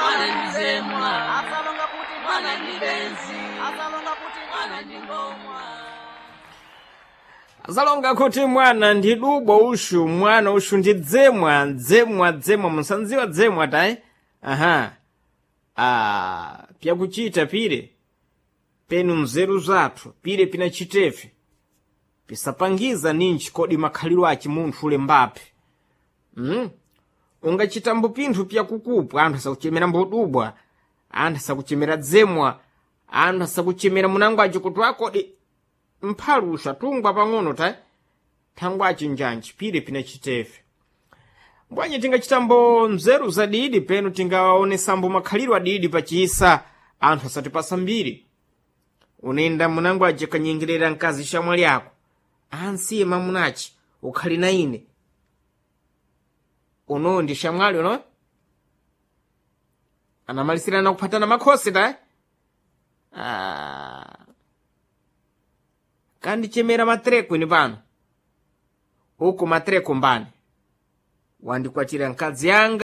Mwana ndi zemwa. Asalonga kuti Mwana ndi benzi. Asalonga kuti Mwana ndi ngomwa. Azalonga kuti mwana ndi dubwa ushu, mwana ushu ndi dzemwa, dzemwa, dzemwa, musandziwa dzemwa tayi? Aha. Ah, pyakuchita pire penu mzeru zathu pire pinachitefe pisapangiza ninji kodi makhaliro achi munthu ule mbaphi. Ungachitambo pinthu pyakukupwa, anthu asakuchemera mbodubwa, anthu asakuchemera dzemwa, anthu asakuchemera munango achi kuti akodi mphalusha tungwa pang'ono ta thangwa achinjanji pire pinachitefe. Mbwanyi tingachitambo mzeru zadidi penu tingaonesambo makhaliro adidi pachisa anthu asatipasa mbiri. Unenda munango aje kanyengerera mkazi shamwali ako, ansiye mamunachi ukhali na ine. Uno ndi shamwali uno anamalisirana kuphatana makhosi ta. Ah. Kandichemera matreko ini pano uku matreko mbani wandikwatira mkazi yanga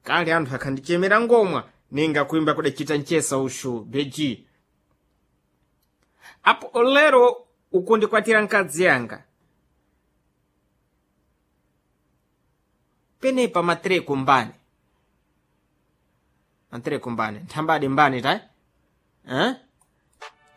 kale anthu akhandichemera ngomwa ninga kuimba kudachita mchesa ushu beji apo lero ukundikwatira mkazi yanga penepa matreko mbani, matreko mbani nthambadi mbani ta, eh?